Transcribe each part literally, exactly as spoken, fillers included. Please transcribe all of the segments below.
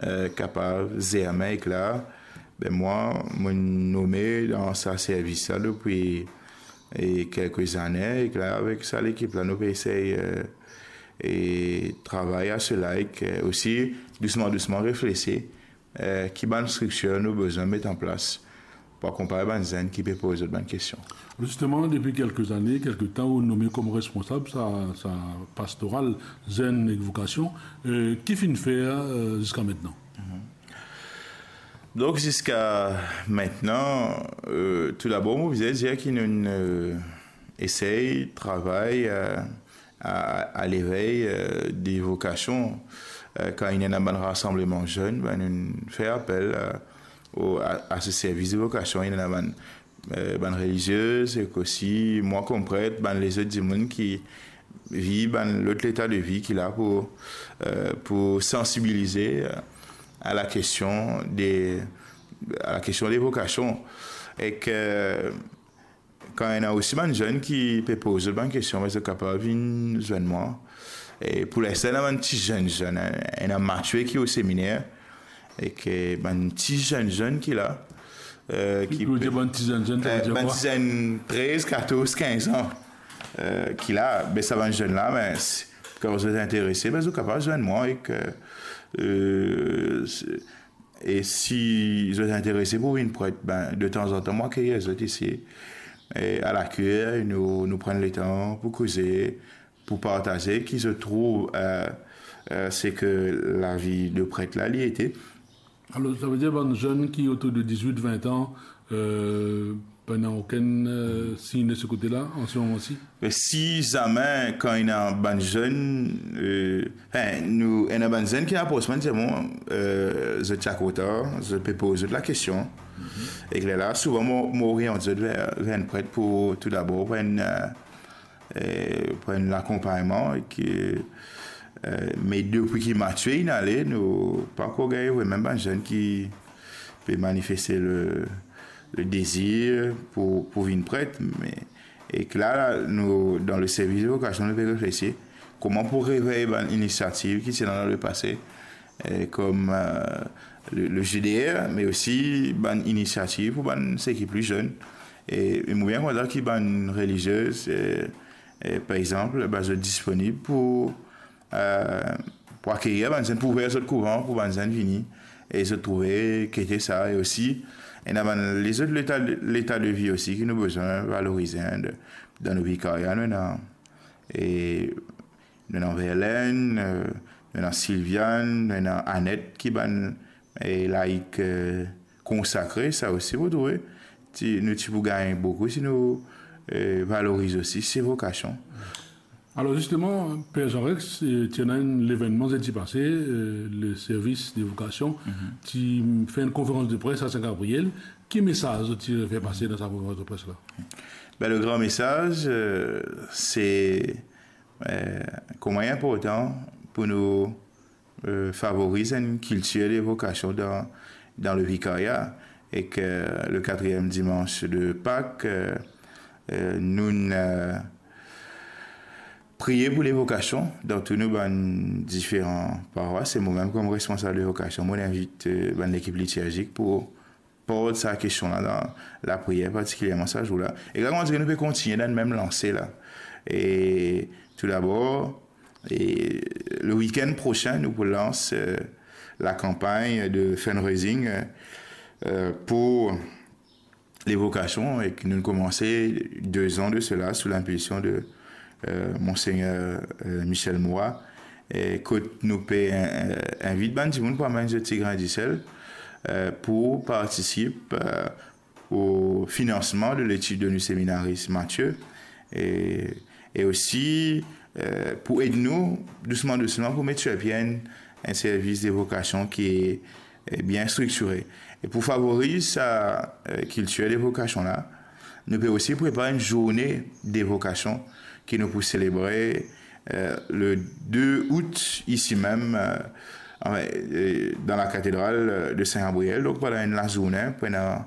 eh, kapav zermin ek la, be mwa, mo nome dan sa servis la depi, eh, kelke zane, ek la, avek sa lekip la, nou pe esey, eh, eh, travay a sela, ek, eh, osi, dousman, dousman reflesi, eh, ki bann striktir nou bizin met an plas pou akonpagn bann zenn ki pe poz zot bann kestion. Zisteman, depi kelke zane, kelke tan, ou nome kom responsab sa, sa pastoral, zenn ek vokasion, eh, ki finn fer, eh, ziska aster? Mhm. Donk, ziska aster, eh, tou dabor, mo bizin dir ki nou, eh, esey travay, eh, a, a levey, eh, de vokasion. Eh, kan ena bann rasanbleman zenn, be nou fer apel, eh, o, a, a se servis de vokasion, ena bann, eh, bann reliziez, ek osi mwa kom pret, bann lezot dimoun ki viv bann lot leta de vi ki la pou, eh, pou sansibilize, eh, a la kestion de, a la kestion de vokasion. Ek, eh, kan ena osi bann zenn ki pe poz zot bann kestion, be zot kapav vinn zwenn mwa. E pou linstan, ena bann ti zenn, zenn, eh, ena matir ki o seminer, ek bann ti zenn, zenn ki la, eh, ki Ki pe dir bann ti zenn, zenn, eh, dir bann kwa? Ti zenn trez, katorz, kinz an, eh, ki la, be sa bann zenn la, be, si, kan zot interese, be zot kapav zwenn mwa, ek, eh, se, e si zot interese pou vinn pret, be, detanzantan, mwa akeyir zot isi. E a la kir, nou, nou pran letan pou koze, pou partaze ki zot trouv, eh, eh, seki lavi de pret la, li ete. Alor, savedir bann zenn ki otour de dizwit, vin an, eh, pena okenn, eh, sign de se kote la, an se moman si? Me si zame, kan ena bann zenn, eh, anfin, nou, ena bann zenn ki apros mwa, dir mwa, eh, zot ti a kontan, zot pe poz zot lakestion. Mhm. Ek lerla, souvan, mo, mo oriant zot ver, ver enn pret pou, tou dabor, pou enn, eh, eh, pou enn lakonpagnman, ek, eh, me depi ki matir inn ale, nou pa ankor gagn vremem bann zenn ki pe manifeste le, le dezir pou, pou vinn pret, me, ek la, la, nou, dan le servis de vokasion, nou pe reflesi kouma pou revey bann inisiativ ki ti ena dan lepase, eh, kom, eh, le, le G D R, me osi bann inisiativ pou bann seki pli zenn. E, e mo bien kontan ki bann reliziez, eh, eh, par exanp, be zot disponib pou, eh, pou akeyir bann zenn, pou ouver zot kouvan, pou bann zenn vini, e zot trouve ki ete sa, e osi, ena bann lezot leta, leta de vi osi ki nou bizin valorize, hein, de, dan nou vikaria, nou ena, e, nou ena Verlaine, eh, nou ena Sylviane, nou ena Annette ki bann, eh, laik, eh, konsakre, sa osi, pou trouve, ti, nou ti pou gagn boukou si nou, eh, valoriz osi se vokasion. Alor, zisteman, Per Jean Rex, eh, ti ena enn levennman zedi pase, eh, le servis de vokasion, Mhm. ti fer enn konferans de pres a Sin Gabriel. Ki mesaz zot ti fer pase dan sa konferans de pres la? Be, le gran mesaz, eh, se, eh, kouma li inportan pou nou, eh, favoriz enn kiltir de vokasion dan, dan le vikaria, ek, eh, le katriem dimans de Pak, eh, eh, nou, eh, priye pou le vokasion dan tou nou bann diferan parwas. E mo mem kom responsab de vokasion, mo invit, eh, bann lekip litirzik pou port sa kestion la dan lapriyer, partikilierman sa zour la. E la, nou pe kontigne dan mem lanse la. E tou dabor, e le wikenn prosin, nou pou lans, eh, lakanpagn de fundraising, eh, eh, pou le vokasion, e ki nou komanse de zan de sela sou linpilsion de, eh, Monsegner, eh, Michel Moua, e kot nou pe, eh, invit bann dimoun pou amenn zot ti grin disel, eh, pou partisip, eh, o finansman de letid de nou seminaris Mathieu, e, e osi, eh, pou ed nou dousman, dousman pou met sir pie enn, enn servis de vokasion ki, eh, bien striktire. E pou favoriz sa, eh, kiltir de vokasion la, nou pe osi prepar enn zourne de vokasion ki nou pou selebre, eh, le de out isi mem, eh, anfin, eh, dan lakatedral, eh, de Sin Gabriel. Donk, pandan enn lazourne, pandan,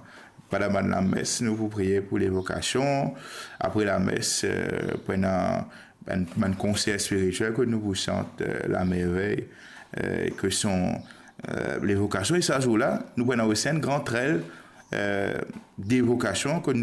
pandan bann lames, nou pou priye pou le vokasion. Apre lames, eh, pandan bann, bann konser spiritiel kot nou pou sant, eh, La Merveille, eh, que sont, eh, levokasion, e sa zour la, nou pou ena osi enn gran trel, eh, devokasion, kot nou